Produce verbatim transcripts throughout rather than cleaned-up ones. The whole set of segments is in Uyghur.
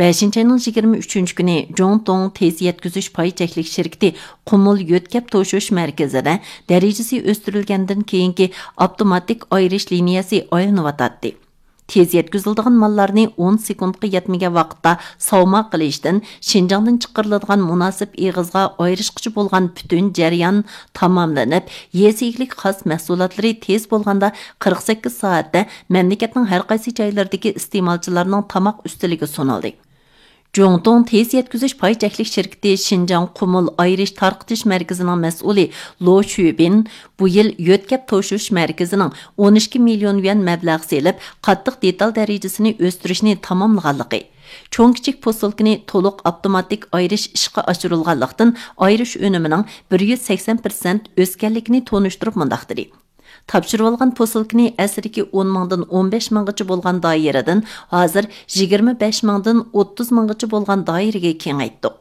بەشىنچى ئاينىڭ يىگىرمە ئۈچىنچى كۈنى جۇڭتۇڭ تېز يەتكۈزۈش پاي چەكلىك شىركىتى قۇمۇل يۆتكەپ توشۇش مەركىزىدە دەرىجىسى ئۆستۈرۈلگەندىن كېيىنكى ئاپتوماتىك ئايرىش لىنىيەسى ئايلىنىۋاتاتتى. تېز يەتكۈزۈلىدىغان ماللارنى ئون سېكۇنتقا يەتمىگەن ۋاقىتتا ساۋما قىلىشتىن، شىنجاڭدىن چىقىرىلىدىغان مۇناسىپ ئېغىزغا ئايرىشقۇچى بولغان پۈتۈن جەريان تاماملىنىپ، يېزا ئىگىلىك خاس مەھسۇلاتلىرى تېز بولغاندا قىرىق سەككىز سائەتتە مەملىكەتنىڭ ھەر قايسى جايلىرىدىكى ئىستېمالچىلارنىڭ تاماق ئۈستىلىگە سۇنۇلدى. جۇڭتۇڭ تېز يەتكۈزۈش پاي چەكلىك شىركىتى شىنجاڭ قۇمۇل ئايرىش تارقىتىش مەركىزىنىڭ مەسئۇلى لو شۈبىن بۇ يىل يۆتكەپ توشۇش مەركىزىنىڭ ئون ئىككى مىليون يۈەن مەبلەغ سېلىپ، قاتتىق دېتال دەرىجىسىنى ئۆستۈرۈشنى تاماملىغانلىقى، چوڭ كىچىك پوسۇلكىنى تولۇق ئاپتوماتىك ئايرىش ئىشقا ئاشۇرۇلغانلىقتىن، ئايرىش ئۈنۈمىنىڭ بىر يۈز سەكسەن پىرسەنت ئۆسكەنلىكىنى تونۇشتۇرۇپ مۇنداق دېدى: تاپشۇرۇۋالغان پوسۇلكىنى ئەسلىدىكى ئون مىڭدىن ئون بەش مىڭغىچە بولغان دائىرىدىن ھازىر يىگىرمە بەش مىڭدىن ئوتتۇز مىڭغىچە بولغان دائىرىگە كېڭەيتتۇق.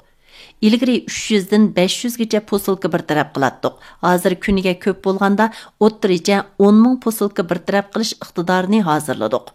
ئىلگىرى ئۈچ يۈزدىن بەش يۈزگىچە پوسۇلكا بىر تەرەپ قىلاتتۇق. ھازىر كۈنىگە كۆپ بولغاندا ئوتتۇرىچە ئون مىڭ پوسۇلكا بىر تەرەپ قىلىش ئىقتىدارىنى ھازىرلىدۇق.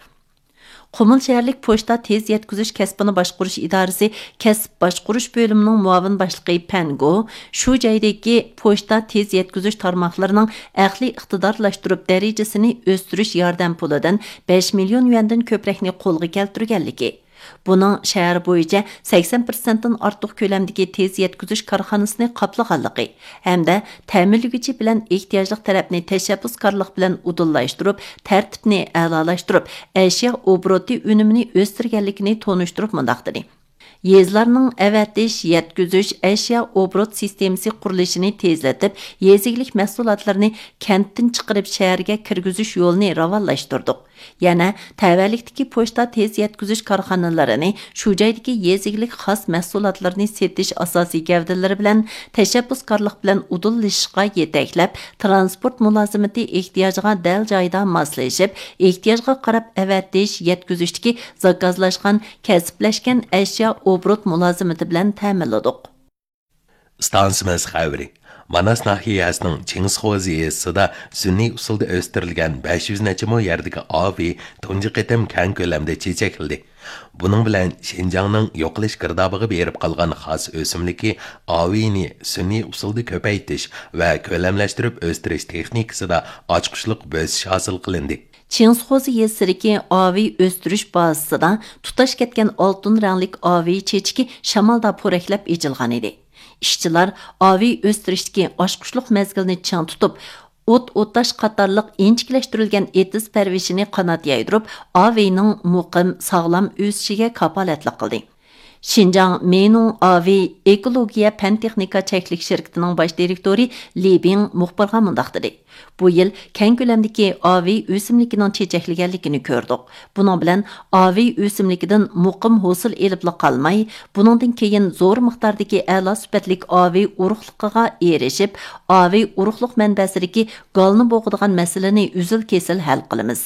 قۇمۇل شەھەرلىك پوچتا تېز يەتكۈزۈش كەسپىنى باشقۇرۇش ئىدارىسى كەسىپ باشقۇرۇش بۆلۈمىنىڭ مۇئاۋىن باشلىقى پەن گو شۇ جايدىكى پوچتا تېز يەتكۈزۈش تارماقلىرىنىڭ ئەقلىي ئىقتىدارلاشتۇرۇپ دەرىجىسىنى ئۆستۈرۈش ياردەم پۇلىدىن بەش مىليون يۈەندىن كۆپرەكنى قولغا كەلتۈرگەنلىكى، بۇنىڭ شەھەر بويىچە سەكسەن پىرسەنتتىن ئارتۇق كۆلەمدىكى تېز يەتكۈزۈش كارخانىسىنى قاپلىغانلىقى ھەمدە تەمىنلىگۈچى بىلەن ئېھتىياجلىق تەرەپنى تەشەببۇسكارلىق بىلەن ئۇدۇللاشتۇرۇپ، تەرتىپنى ئەلالاشتۇرۇپ، ئەشيا ئوبوروتى ئۈنۈمىنى ئۆستۈرگەنلىكىنى تونۇشتۇرۇپ مۇنداق دېدى: يېزىلارنىڭ ئەۋەتىش، يەتكۈزۈش، ئەشيا ئوبوروت سىستېمىسى قۇرۇلۇشىنى تېزلىتىپ، يېزا ئىگىلىك مەھسۇلاتلىرىنى كەنتتىن چىقىرىپ شەھەرگە كىرگۈزۈش يولىنى راۋانلاشتۇردۇق. يەنە تەۋەلىكتىكى پوچتا تېز يەتكۈزۈش كارخانىلىرىنى شۇ جايدىكى يېزا ئىگىلىك خاس مەھسۇلاتلىرىنى سېتىش ئاساسىي گەۋدىلىرى بىلەن تەشەببۇسكارلىق بىلەن ئۇدۇللىشىشقا يېتەكلەپ، تىرانسپورت مۇلازىمىتى ئېھتىياجىغا دەل جايىدا ماسلىشىپ، ئېھتىياجغا قاراپ ئەۋەتىش، يەتكۈزۈشتىكى زاكازلاشقان، كەسىپلەشكەن ئەشيا ئوبوروت مۇلازىمىتى بىلەن تەمىنلىدۇق. ئىستانسىمىز خەۋىرى. ماناس ناھىيەسىنىڭ چىڭسىخوزى يېزىسىدا سۈنئىي ئۇسۇلدا ئۆستۈرۈلگەن بەش يۈز نەچچە مو يەردىكى ئاۋېي تۇنجى قېتىم كەڭ كۆلەمدە چېچەكلىدى. بۇنىڭ بىلەن شىنجاڭنىڭ يوقىلىش گىردابىغا بېرىپ قالغان خاس ئۆسۈملۈكى ئاۋېينى سۈنئىي ئۇسۇلدا كۆپەيتىش ۋە كۆلەملەشتۈرۈپ ئۆستۈرۈش تېخنىكىسىدا ئاچقۇچلۇق بۆسۈش ھاسىل قىلىندى. چىڭسىخوزى يېزىسىدىكى ئاۋېي ئۆستۈرۈش بازىسىدا تۇتاش كەتكەن ئالتۇن رەڭلىك ئاۋېي چېچىكى شامالدا پورەكلەپ ئېچىلغانىدى. ئىشچىلار ئاۋېي ئۆستۈرۈشتىكى ئاچقۇچلۇق مەزگىلنى چىڭ تۇتۇپ، ئوت ئوتاش قاتارلىق ئىنچىكىلەشتۈرۈلگەن ئېتىز پەرۋىشىنى قانات يايدۇرۇپ، ئاۋېينىڭ مۇقىم، ساغلام ئۆسۈشىگە كاپالەتلىك قىلدى. شىنجاڭ مېينۇڭ ئاۋېي ئېكولوگىيە پەن تېخنىكا چەكلىك شىركىتىنىڭ باش دىرېكتورى لى بىڭ مۇخبىرغا مۇنداق دېدى: بۇ يىل كەڭ كۆلەمدىكى ئاۋېي ئۆسۈملۈكىنىڭ چېچەكلىگەنلىكىنى كۆردۇق. بۇنىڭ بىلەن ئاۋېي ئۆسۈملۈكىدىن مۇقىم ھوسۇل ئېلىپلا قالماي، بۇنىڭدىن كېيىن زور مىقداردىكى ئەلا سۈپەتلىك ئاۋېي ئۇرۇقلۇقىغا ئېرىشىپ، ئاۋېي ئۇرۇقلۇق مەنبەسىدىكى گالنى بوغىدىغان مەسىلىنى ئۈزۈل-كېسىل ھەل قىلىمىز.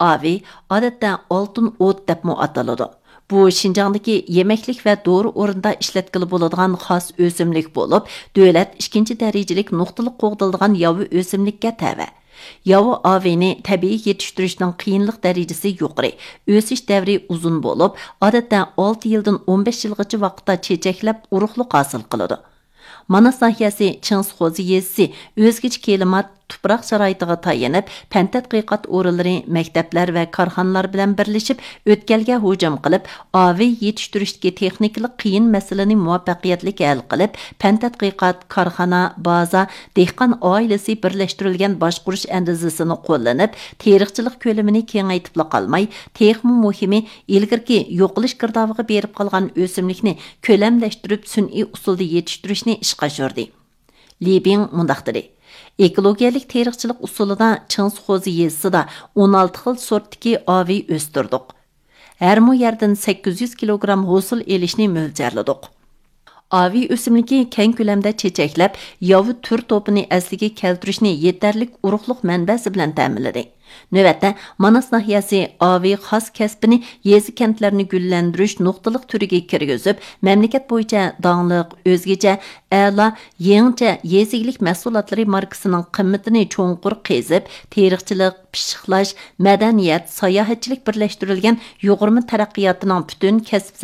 ئاۋېي ئادەتتە ئالتۇن ئوت دەپمۇ ئاتىلىدۇ. بۇ شىنجاڭدىكى يېمەكلىك ۋە دورا ئورنىدا ئىشلەتكىلى بولىدىغان خاس ئۆسۈملۈك بولۇپ، دۆلەت ئىككىنچى دەرىجىلىك نۇقتىلىق قوغدىلىدىغان ياۋا ئۆسۈملۈككە تەۋە. ياۋا ئاۋېينى تەبىئىي يېتىشتۈرۈشنىڭ قىيىنلىق دەرىجىسى يۇقىرى، ئۆسۈش دەۋرى ئۇزۇن بولۇپ، ئادەتتە ئالتە يىلدىن ئون بەش يىلغىچە ۋاقىتتا چېچەكلەپ ئۇرۇقلۇق ھاسىل قىلىدۇ. ماناس ناھىيەسى چىڭسىخوزى يېزىسى ئۆزگىچە كىلىمات، تۇپراق شارائىتىغا تايىنىپ، پەن تەتقىقات ئورۇنلىرى، مەكتەپلەر ۋە كارخانىلار بىلەن بىرلىشىپ ئۆتكەلگە ھۇجۇم قىلىپ، ئاۋېي يېتىشتۈرۈشتىكى تېخنىكىلىق قىيىن مەسىلىنى مۇۋەپپەقىيەتلىك ھەل قىلىپ، پەن تەتقىقات، كارخانا، بازا، دېھقان ئائىلىسى بىرلەشتۈرۈلگەن باشقۇرۇش ئەندىزىسىنى قوللىنىپ، تېرىقچىلىق كۆلىمىنى كېڭەيتىپلا قالماي، تېخىمۇ مۇھىمى، ئىلگىرىكى يوقىلىش گىردابىغا بېرىپ قالغان ئۆسۈملۈكنى كۆلەملەشتۈرۈپ، سۈنئىي ئۇسۇلدا يېتىشتۈرۈشنى ئىشقا ئاشۇردى. لى بىڭ مۇنداق دېدى: ئېكولوگىيەلىك تېرىقچىلىق ئۇسۇلىدا چىڭسىخوزى يېزىسىدا ئون ئالتە خىل سورتتىكى ئاۋېي ئۆستۈردۇق. ھەر مو يەردىن سەككىز يۈز كىلوگرام ھوسۇل ئېلىشنى مۆلچەرلىدۇق. ئاۋېي ئۆسۈملۈكى كەڭ كۆلەمدە چېچەكلەپ، ياۋا تۈر توپىنى ئەسلىگە كەلتۈرۈشنى يېتەرلىك ئۇرۇقلۇق مەنبەسى بىلەن تەمىنلىدى. نۆۋەتتە، ماناس ناھىيەسى ئاۋېي خاس كەسپىنى يېزا، كەنتلەرنى گۈللەندۈرۈش نۇقتىلىق تۈرىگە كىرگۈزۈپ، مەملىكەت بويىچە داڭلىق، ئۆزگىچە، ئەلا، يېڭىچە يېزا ئىگىلىك مەھسۇلاتلىرى ماركىسىنىڭ قىممىتىنى چوڭقۇر قېزىپ، تېرىقچىلىق، پىششىقلاش، مەدەنىيەت، ساياھەتچىلىك بىرلەشتۈرۈلگەن يۇغۇرما تەرەققىياتىنىڭ پۈتۈن كەسىپ